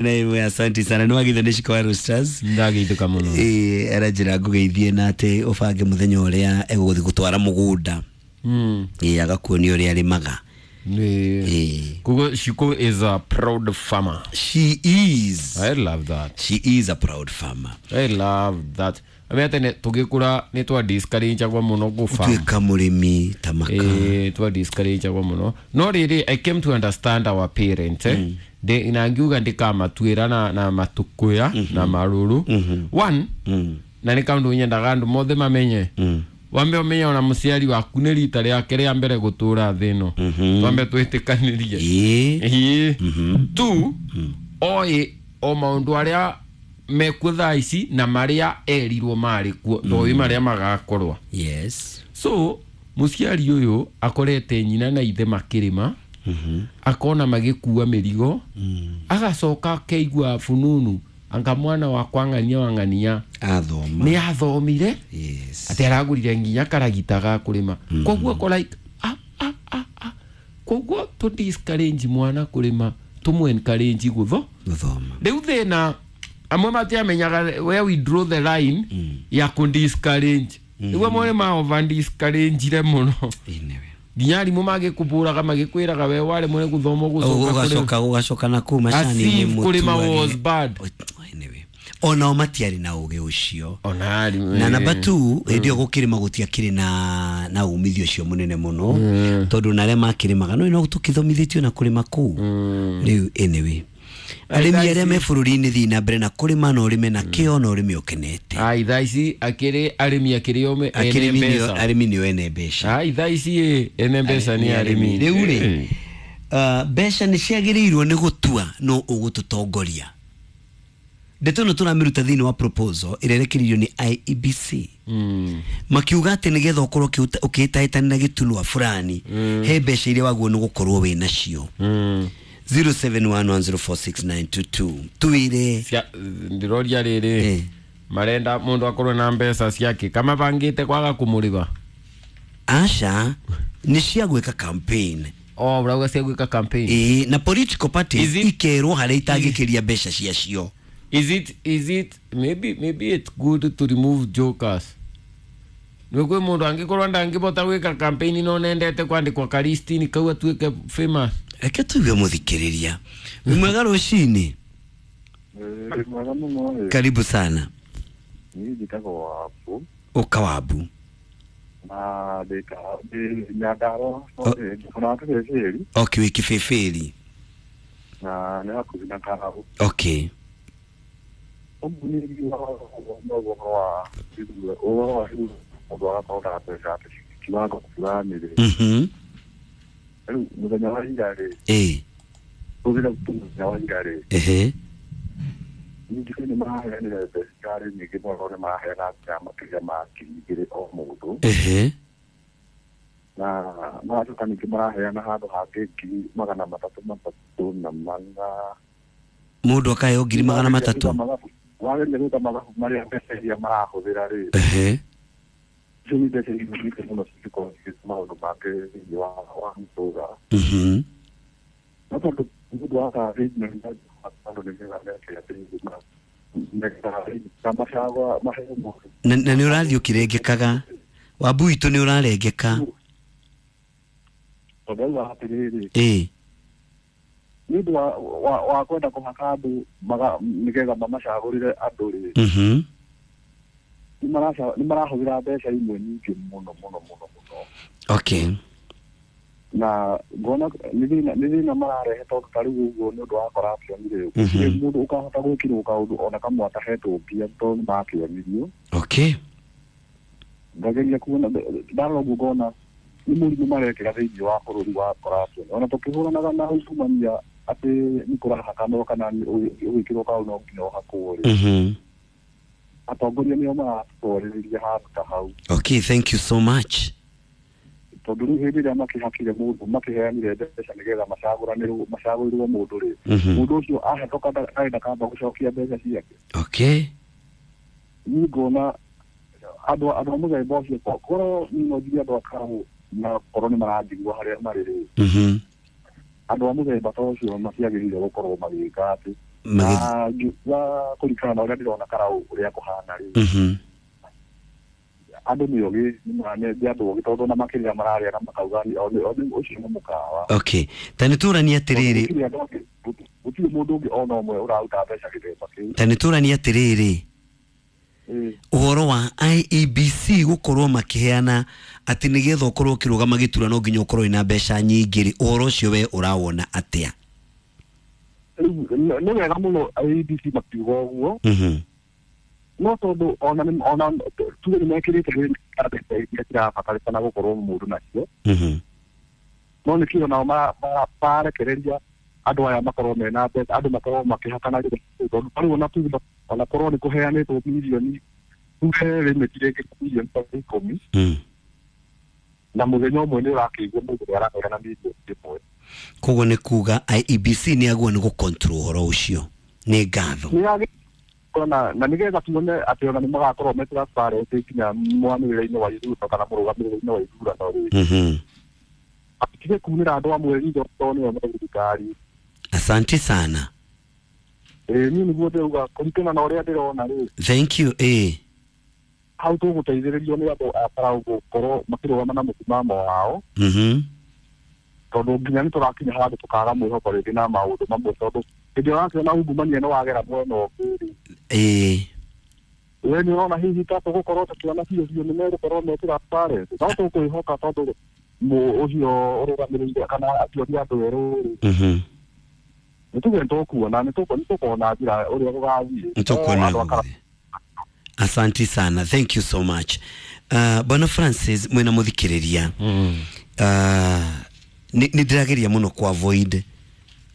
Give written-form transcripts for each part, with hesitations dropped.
Na imwe, asante sana. Nĩ wagithio nĩ Shiko wa Roosters. Ndageithĩka mũno. Ĩĩ, aranjĩra ngũgeithie na atĩ ũbange mũthenya ũrĩa egũgũthiĩ gũtwara mũgũnda. Ĩĩ, agakuonia ũrĩa arĩmaga. Ĩĩ. Koguo Shiko is a proud farmer. She is. I love that. She is a proud farmer. I love that. Amenya tene tũgĩkũra nĩ twa discourage-agwo mũno gũ-farm. Tuĩka mũrĩmi ta maka. Eh, twa discourage-agwo mũno, no rĩrĩ, I came to understand our parents, eh? Na ngiuga ndikamatuĩra na matukuya na marũrũ one, na nĩ kaũndũ nyendaga andũ mothe mamenye. Wambe ũmenye ona mũciari waku nĩ rita rĩake rĩa mbere gũtũra thĩ ĩno, twambe twĩtĩkanĩrie. Ĩĩ. Ĩĩ. Tu oĩ o maũndũ arĩa mekuo thaa ici na marĩa erirwo marĩ kuo, ndoĩ marĩa magakorwo. So mũciari ũyũ akorete nyina na ithe makĩrĩma, akona magĩkua mĩrigo, agacoka akeigua fununu anga mwana wakwa ng'ania wa ng'ania athoma, nĩ athomire, atĩ aragũrire nginya karagita ga kũrĩma. Koguo ko like, ah, ah, ah, ah. Koguo tũ discourage mwana kũrĩma, tũmũ encourage gũtho gũthoma. Rĩu thĩna amwe matiamenyaga where we draw the line ya kũ discourage. Rĩu amwe nĩ ma over discourage mũno, Ĩnewe. nginya arimũ magĩkũbũraga magĩkwĩraga we waremwo nĩ gũthoma ũgũcoka kũrĩma. Ũgacoka, ũgacoka na kũu macani-inĩ. As if kũrĩma mũtuage. was bad. Anyway, onao matiarĩ na ũgĩ ũcio. Ona arimũ Na namba 2, hĩndĩ ĩyo gũkĩrĩma gũtiakĩrĩ na umithio ũcio mũnene mũno, tondũ na arĩa makĩrĩmaga no tũkĩthomithĩtio na kũrĩma kũu rĩu. Anyway, arĩmi arĩa me bũrũri-inĩ, thiĩ na mbere na kũrĩma, na ũrĩme na kĩo na ũrĩme ũkenete. Ai, thaa ici akĩrĩ arĩmi akĩrĩ o ene Akĩrĩmi nĩo- mbeca. Arĩmi nĩo ene mbeca. Ai, thaa ici ĩ, ene mbeca nĩ arĩmi. Rĩu rĩ, mbeca nĩ ciagĩrĩirwo nĩ gũtua no ũgũtũtongoria. Ndeto ĩno tũramĩruta thĩinĩ wa proposal ĩrĩa ĩrekereirio nĩ IEBC, makiuga atĩ nĩgetha ũkorwo ũkĩhĩtahĩtanĩra gĩturwa fulani, he mbeca iria wagwo nĩ gũkorwo wĩ nacio. 0711046922, tuwĩre. Ndĩroria rĩrĩ, marenda mũndũ akorwo na mbeca ciake kama bangĩte kwaga kũmũrĩba? Aca, nĩ cia gwĩka campaign. O ũrauga cia gwĩka campaign? Ĩĩ, na political parties Is it- ikerwo harĩa itangĩkĩria mbeca ciacio. Is it maybe it's good to remove jokers? Nĩ kwĩ mũndũ angĩkorwo ndangĩbota gwĩka campaign no nendete kwandĩkwo karistini kau atuĩke famous. Reke tuigue mũthikĩrĩria. Wĩ mwega rũcinĩ. Ĩ, mwega mũno ĩ. Karibu sana. Niĩ njĩtagwo Wabu. Ũka Wabu. Na ndĩ Nyandarũa, ona Kĩbĩbĩri. Okay, wĩ Kĩbĩbĩri. Na nĩ hakuhĩ na Karau. Ũguo niĩ ngiugaga ũguo ũhoro wa ithurano, mũndũ agakorwo na mbeca atĩ kiwango fulani rĩ. Rĩu mũthenya wa ira rĩ, tũthire mũthenya wa ira rĩ, ningĩ nĩ maraheanire mbeca irarĩ nyingĩ mũno, nĩ maraheana nginya makĩria ma 2,000 o mũndũ. Na magacoka ningĩ maraheana handũ hangĩ 304,000. Mũndũ akaheo 300,000. Wageria gwĩka mathabu marĩa mbeca iria marahũthĩra rĩ, icio nĩ mbeca nyingĩ mũno cingĩkorwo cigĩka maũndũ mangĩ thĩinĩ wa mũtũra. No tondũ nĩ ũndũ wa arrangement, andũ nĩgetha meke atĩ nĩgetha macagũra maheo mũndũ. Na nĩ ũrathiĩ ũkĩrengekaga, Wambu witũ, nĩ ũrarengeka. Tondũ auga atĩrĩrĩ, nĩ ũndũ wa kwenda kũhaka andũ nĩgetha mamacagũrĩre andũ rĩ, nĩ marahũthĩra mbeca imwe nyingĩ mũno mũno mũno mũno. Na ngona nĩ thĩna mararehe, tondũ ta rĩu ũguo nĩ ũndũ wa corruption rĩ, gũtirĩ mũndũ ũkahota gwĩkĩrwo kaũndũ ona kamwe atahetwo mbia, tondũ nĩ makĩonirio. Ngageria kuona, ndarora ũguo ngona nĩ mũrimũ marekĩra thĩinĩ wa bũrũri wa corruption, ona tũkĩhũranaga na ungumania atĩ nĩ kũrahakanwo kana ũgĩkĩrwo kaũndũ no nginya ũhakwo rĩ, atongoria nĩo maratwarĩrĩria handũ ta hau. Okay, thank you so much. Tondũ rĩu hĩndĩ ĩrĩa makĩhakire mũndũ, makĩheanire mbeca nĩgetha macagũranĩrwo, macagũrĩrwo mũndũ rĩ, mũndũ ũcio ahetoka arenda kamba gũcokia mbeca ciake. Niĩ ngona andũ a mũthemba ũcio, korwo niĩ no njigue andũ a Karũ na korwo nĩ maranjigua harĩa marĩ rĩ, andũ a mũthemba ta ũcio matiagĩrĩire gũkorwo magĩka atĩ Na ngiuga kũringana na ũrĩa ndĩrona Karau ũrĩa kũhana rĩ. Andũ nĩ ogĩ nĩ andũ ogĩ tondũ na makĩria mararĩa na makauga ũcio nĩ mũkawa. Okay, ta nĩ tũranie atĩrĩrĩ, gũtirĩ mũndũ ũngĩ ona ũmwe ũraruta mbeca gĩthemba kĩu. Ta nĩ tũranie atĩrĩrĩ, ũhoro wa IEBC gũkorwo makĩheana atĩ nĩgetha ũkorwo ũkĩrũgama gĩturwa no nginya ũkorwo wĩna mbeca nyingĩ rĩ, ũhoro ũcio we ũrawona atĩa? Nĩ wega mũno IEBC makiuga ũguo. No tondũ ona tuge nĩ mekĩrĩte mbeca iria cirabatarĩkana gũkorwo mũndũ nacio. No nĩkĩo nao marekereria andũ aya makorwo mena mbeca, andũ makorwo makĩhakana tondũ rĩu ona tuge ona korwo nĩ kũheanĩtwo mirioni tuge limit rĩngĩ mirioni ta 10 na mũthenya ũmwe nĩ ũrakĩigua mũndũ ũrĩa araheana mirioni 1. Koguo nĩ kuga IEBC nĩ agwo nĩ gũcontrol ũhoro ũcio. Nĩ ngatho. Na nĩgetha tuone atĩ ona nĩ magakorwo me transparent nginya mwanĩrĩre-inĩ wa ithurano kana mũrũgamĩrĩre-inĩ wa ithurano rĩ. Atige kunĩra andũ amwe ritho tondũ nĩo me thirikari. Asante sana. Niĩ nĩguo ndĩrauga kũringana na ũrĩa ndĩrona rĩ. Thank you. Hau tũgũteithĩrĩrio nĩ andũ a Karau gũkorwo makĩrũgama na mũsimamo wao. Tondũ nginya nĩ tũrakinya handũ tũkaga mwĩhoko rĩngĩ na maũndũ mamwe tondũ hĩndĩ ĩrĩa ũrakĩona ungumania nĩ wagera mwena ũngĩ rĩ. We nĩ ũrona hihi ta tũgũkorwo tũkĩona biũ biũ nĩ megũkorwo me transparent. No tũkwĩhoka tondũ ũcio ũrũgamĩrĩire kana akĩoria andũ erũ rĩ. Nĩ tuge nĩtũkuona nĩtũkuona njĩra ũrĩa gũgathiĩ. Nĩtũkuona. Asante sana. Thank you so much. Bwana Francis mwena muthikiriria. Nĩ ndĩrageria mũno ku avoid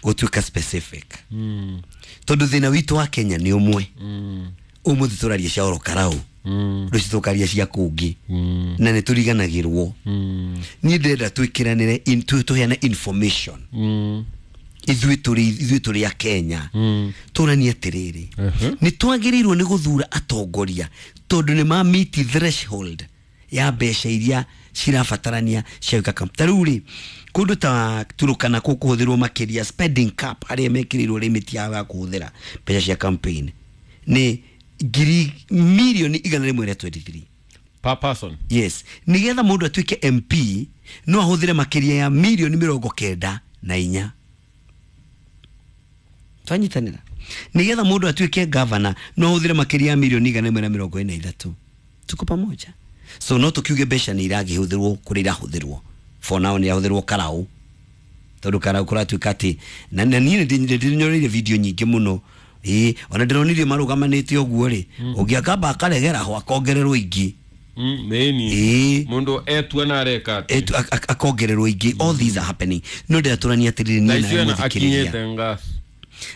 gũtuĩka specific. Tondũ thĩna witũ wa Kenya nĩ ũmwe. Ũmũthĩ tũraria cia oro Karau. Rũciũ tũkaria cia kũngĩ. Na nĩ tũriganagĩrwo. Niĩ ndĩrenda twĩkĩranĩre tũheane information. Ithuĩ tũrĩ a Kenya. Tũranie atĩrĩrĩ. Nĩ twagĩrĩirwo nĩ gũthura atongoria tondũ nĩ ma meet threshold ya mbeca iria cirabatarania cia gwĩka campaign. Ta rĩu rĩ, kũndũ ta Turukana kũhũthĩrwo makĩria spending cap arĩa mekĩrĩirwo limit ya kũhũthĩra mbeca cia campaign nĩ ngiri mirioni 123 per person. Yes, nĩgetha mũndũ atuĩke MP no ahũthĩre makĩria ya mirioni 94. Twanyitanĩra. Nĩgetha mũndũ atuĩke governor no ahũthĩre makĩria ya mirioni 143. Tuko pamoja. So no tukiuge mbeca nĩ iragĩhũthĩrwo kũrĩa irahũthĩrwo. For now nĩ irahũthĩrwo Karau. Tondũ Karau kũratuĩka atĩ na niĩ nĩ ndĩnyoreire video nyingĩ mũno. Ona ndĩronire marũgamanĩte ũguo rĩ, ũngĩ akamba akaregera ho akongererwo ingĩ. Nĩni. Mũndũ etua na areka atĩ. Akongererwo ingĩ. All these are happening. No ndĩratũrania atĩrĩrĩ niĩ na mũthikĩrĩria.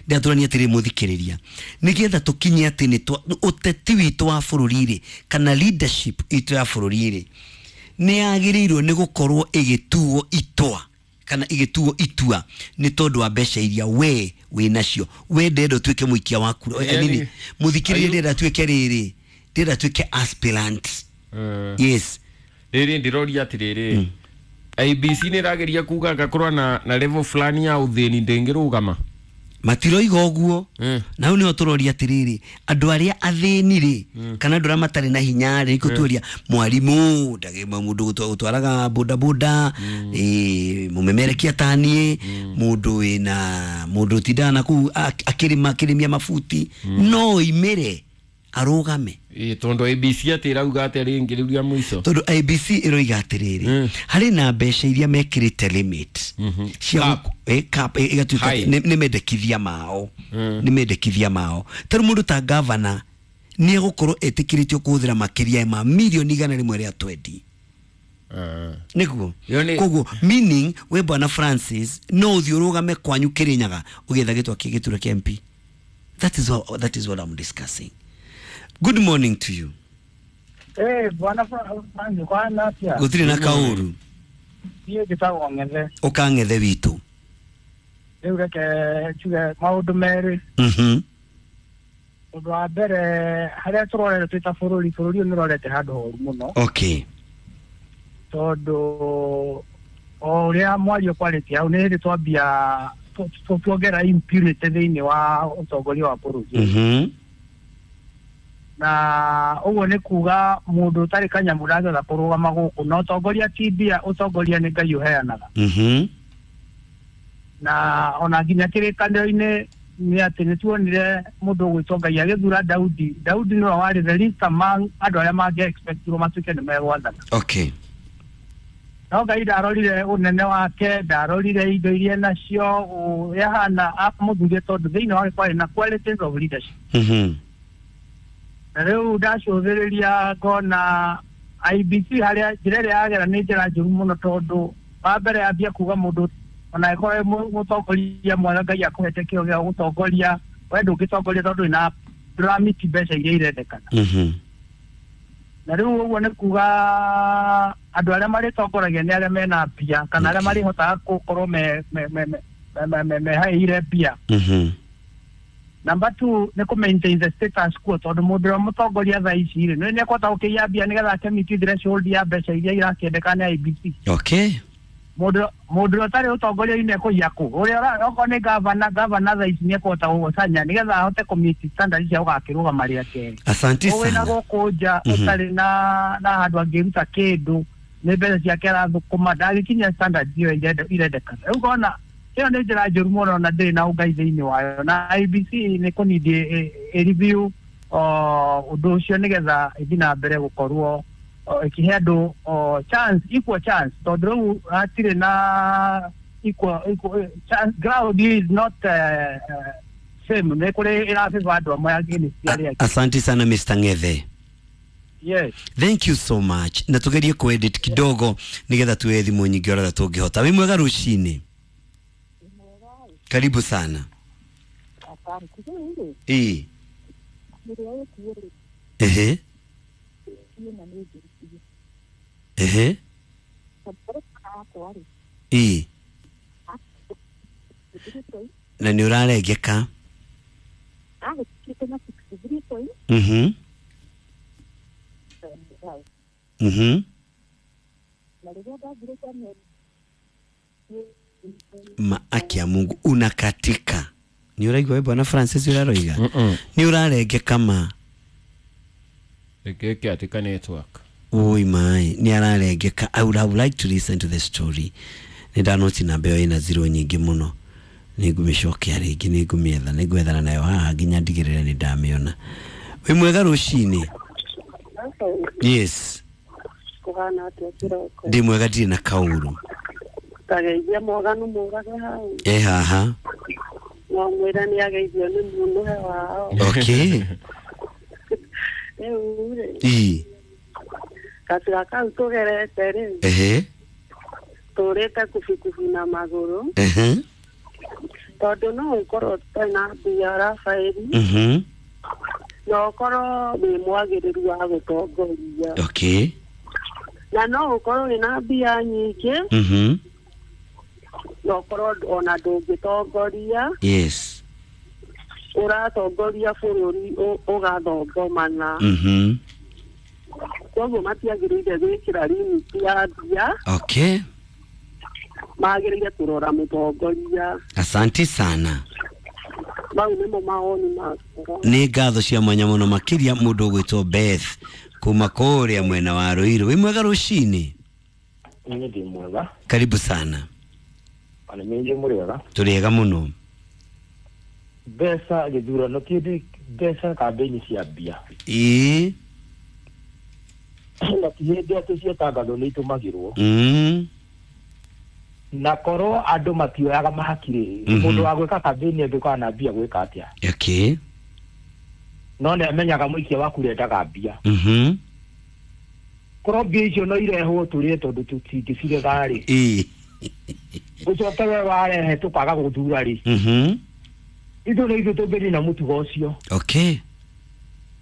Ndĩratũrania atĩrĩrĩ mũthikĩrĩria. Nĩgetha tũkinye atĩ nĩ ũteti witũ wa bũrũri rĩ, kana leadership itũ ya bũrũri rĩ, nĩ yagĩrĩirwo nĩ gũkorwo ĩgĩtuo itwa kana ĩgĩtuo itua nĩ tondũ wa mbeca iria we wĩ nacio. We ndĩrenda ũtuĩke mũikia wa kura. Mũthikĩrĩria ndĩrenda atuĩke rĩrĩ, ndĩrenda atuĩke aspirant. Yes. Rĩrĩ ndĩroria atĩrĩrĩ, IBC nĩ ĩrageria kuga ngakorwo na level fulani ya ũthĩni ndĩngĩrũgama. Matiroiga ũguo. Na hau nĩho tũroria atĩrĩrĩ, andũ arĩa athĩni rĩ, kana andũ arĩa matarĩ na hinya rĩ, nĩkũtuoria mwarimũ, mũndũ ũtwaraga bodaboda, mũmemerekia ta niĩ, mũndũ wĩna mũndũ ũtindaga na kũu akĩrĩma akĩrĩmia mabuti, no oimĩre arũgame. Tondũ IBC atĩ ĩrauga atĩa rĩngĩ rĩu rĩa mũico? Tondũ IBC ĩroiga atĩrĩrĩ, harĩ na mbeca iria mekĩrĩte limit cia cap ĩgatuĩka nĩ mendekithia mao. Nĩ mendekithia mao. Ta rĩu mũndũ ta governor nĩ egũkorwo etĩkĩrĩtio kũhũthĩra makĩria ma mirioni 120. Nĩguo. Koguo meaning we Bwana Francis no ũthiĩ ũrũgame kwanyu Kĩrĩnyaga ũgĩetha gĩtwa gĩturwa kĩa MP. That is what I'm discussing. Good morning to you. Bwana Francis, kwa natia. Gũtirĩ na kaũru. Niĩ njĩtagwo Ng'ethe. Ũkang'ethe witũ. Rĩu reke njuge maũndũ merĩ. Ũndũ wa mbere harĩa tũrorete twĩ ta bũrũri, bũrũri ũyũ nĩ ũrorete handũ horu mũno. Okay. Tondũ o ũrĩa mwario kwarĩtie hau nĩ hĩndĩ twambia tuongerera impunity thĩinĩ wa ũtongoria wa bũrũri. Na ũguo nĩ kuga mũndũ ũtarĩ kanyamũ ndangĩhota kũrũgama gũkũ, na ũtongoria ti mbia, ũtongoria nĩ Ngai ũheanaga. Na ona nginya kĩrĩkanĩro-inĩ nĩ atĩ nĩ tuonire mũndũ ũgwĩtwo Ngai agĩthura Daudi. Daudi nĩwe warĩ the least among andũ arĩa mangĩ expectirwo matuĩke nĩ megwathana. Okay. No Ngai ndarorire ũnene wake, ndarorire indo iria nacio ũrĩa amũthurire, tondũ thĩinĩ wake kwarĩ na qualities of leadership. Na rĩu ndacũthĩrĩria ngona IEBC harĩa njĩra ĩrĩa yagera nĩ njĩra njũru mũno, tondũ wa mbere ambia kuga mũndũ ona ĩkorwo mũtongoria mwega Ngai akũhete kĩo gĩa gũtongoria, we ndũngĩtongoria tondũ ina ndũramiti mbeca iria irendekana. Na rĩu ũguo nĩ kuga andũ arĩa marĩtongoragia nĩ arĩa mena mbia, kana arĩa marĩhotaga gũkorwo mehaĩire mbia. Number 2 nĩ kũ maintain the status quo, tondũ mũndũ ũrĩa mũtongoria thaa ici rĩ nĩ ekũhota gũkĩiya mbia nĩgetha akĩmiti threshold ya mbeca iria irakĩendekana nĩ IEBC. Okay. Mũndũ ũrĩa ũtarĩ ũtongoria-inĩ ekũiya kũ? Ũrĩa okorwo nĩ gavana thaa ici nĩ ekũhota gũgũcanya nĩgetha ahote kũmiti standard cia gũgakĩrũgama rĩa kerĩ. Asante sana. Wĩna gũkũ nja ũtarĩ na handũ angĩruta kĩndũ, nĩ mbeca ciake arathũkũma, ndagĩkinyia standard ĩyo irendekana. Rĩu ngona ĩyo nĩ njĩra njũru mũno na ndĩrĩ na ũngai thĩinĩ wayo, na IEBC nĩ kũnindi ĩ review ũndũ ũcio nĩgetha ĩthiĩ na mbere gũkorwo ĩkĩhe andũ chance, equal chance, tondũ rĩu hatirĩ na equal chance, ground is not same, nĩ kũrĩ ĩrabĩba andũ amwe against arĩa angĩ. Asante sana Mr. Ngethe. Yes. Thank you so much. Na tugerie kuedit kidogo nigetha tuwe thimũ nyingĩ ũrĩa tũngĩhota. Wĩ mwega rũcinĩ. Karibu sana. Ehe. Ehe. Ehe. Na nĩ ũrarengeka. Maaki ya Mungu unakatika. Ni ũraigua we bwana Francis ũraroiga? Ni ũrarengeka ma. Gĩkĩ atika network. Oi mai, ni ararengeka. I would have liked to listen to the story. Nĩ ndanoti namba ĩyo ĩna zero nyingĩ mũno. Nĩ ngũmĩcokia rĩngĩ, nĩ ngũmĩetha, nĩ ngwethana nayo haha nginya ndigĩrĩre nĩ ndamĩona. Wĩ mwega rũcinĩ. Yes. Kũhana atĩa kĩroko? Ndĩ mwega, ndirĩ na kaũru. Tageithia mwaganu mũrage hau. Haha. No mwĩra nĩ ageithio nĩ mũnũhe wao. Okay. Rĩu rĩ. Ii. Gacĩra kau tũgerete rĩ. Ehe. Tũrĩte kubikubi na magũrũ. Ehe. Tondũ no ũkorwo ũtarĩ na mbia Rafaeli. Na ũkorwo wĩ mwagĩrĩru wa gũtongoria. Okay. Na no ũkorwo wĩna mbia nyingĩ. Na ũkorwo ona ndũngĩtongoria. Yes. Ũratongoria bũrũri ũgathongomana. Koguo matiagĩrĩire gwĩkĩra limit ya mbia. Okay. Magĩrĩire kũrora mũtongoria. Asante sana. Mau nĩmo mawoni makwa. Nĩ ngatho cia mwanya mũno makĩria mũndũ ũgwĩtwo Beth kuma kũrĩa mwena wa Ruiru. Wĩ mwega rũcinĩ? Niĩ ndĩ mwega. Karibu sana. Ona nyinyi mũrĩ wega? Tũrĩ ega mũno. Mbeca gĩthurano kĩndĩ, mbeca kambĩini cia mbia. Ĩĩ. Na ti hĩndĩ atĩ ciatangathwo nĩ itũmagĩrwo. Na korwo andũ matioyaga mahaki rĩ, mũndũ wa gwĩka kambĩini angĩkorwo na mbia gwĩka atĩa? Okay. No nĩ amenyaga mũikia waku ũrendaga mbia. Korwo mbia icio no irehwo tũrĩe tondũ tũtingĩcirega rĩ. Ĩĩ. Ũcoke we warehe tũkaga gũthura rĩ. Ithuĩ nĩ ithuĩ tũngĩnina mũtugo ũcio. Okay.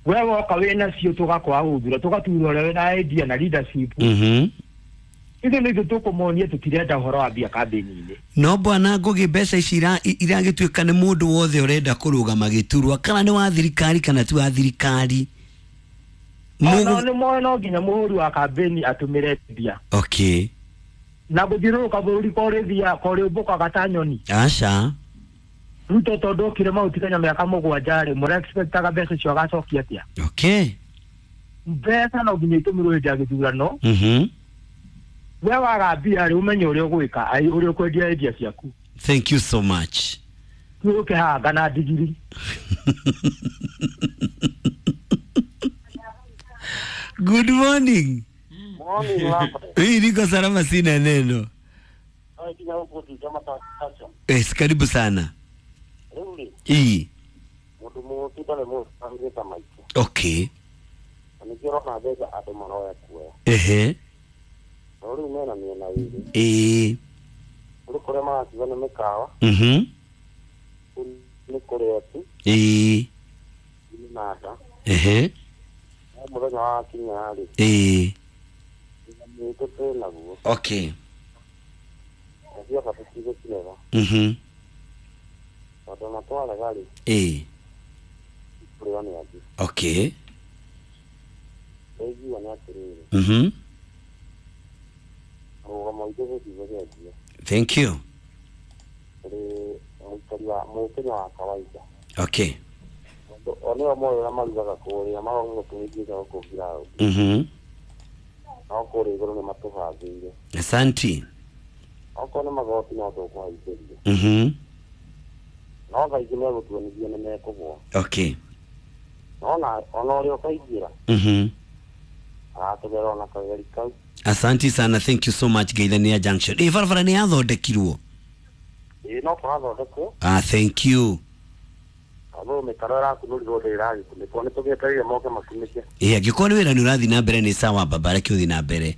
We woka wĩna cio tũgakwaga gũthura, tũgatura ũrĩa wĩna idea na leadership. Ithuĩ nĩ ithuĩ tũkũmonia tũtirenda ũhoro wa mbia kambĩini-inĩ. No bwana Ngugi, mbeca ici iragĩtuĩka nĩ mũndũ wothe ũrenda kũrũgama gĩturwa, kana nĩ wa thirikari kana ti wa thirikari. No nĩ moĩ no nginya mũhũri wa kambĩini atũmĩre mbia. Okay. Na gũthiũrũrũka bũrũri korĩthia korĩũmbũkaga ta nyoni. Aca. Ruto tondũ okire Mount Kenya mĩaka mũgwanja rĩ, mũrexpectaga mbeca icio agacokia atĩa? Okay. Mbeca no nginya itũmĩrwo hĩndĩ ya gĩthurano. Mhm. We waga mbia rĩ, ũmenye ũrĩa ũgwĩka, ũrĩa ũkwendia idea ciaku. Thank you so much. Tuũke na ndigiri. Good morning. Morning, Lambert. Hii niko salama, sina neno. Yes, karibu sana. Ii. Okay. Ehe. Ii. Mhm. Ii. Ehe. Ii. Okay. Mhm. Ii. Okay. Mhm. Thank you. Okay. Mhm. Asante. Mhm. Okay. Mhm. Asante sana, thank you so much. Geithania Junction. Barabara nĩ yathondekirwo? Ah, thank you. Angĩkorwo nĩ wĩra nĩ ũrathiĩ na mbere nĩ sawa, baba, reke ũthiĩ na mbere.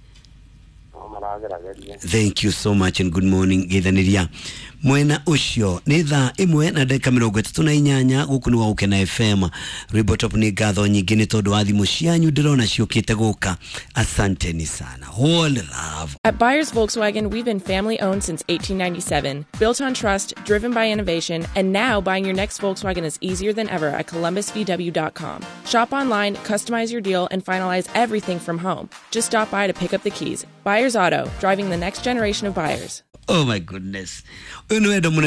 Thank you so much and good morning. Geithaniria mwena ucio nĩ thaa 1 na ndagĩka 38 gũkũ nĩ gwa Gũkena FM. Rwĩmbo Top nĩ ngatho nyingĩ nĩ tondũ wa thimũ cianyu ndĩrona ciũkĩte gũka. Asanteni sana. Whole love. At Buyers Volkswagen, we've been family owned since 1897, built on trust, driven by innovation, and now buying your next Volkswagen is easier than ever at ColumbusVW.com. Shop online, customize your deal, and finalize everything from home. Just stop by to pick up the keys. Buyers Auto, driving the next generation of buyers. Oh my goodness. Ũyũ nĩ wendo mũnene.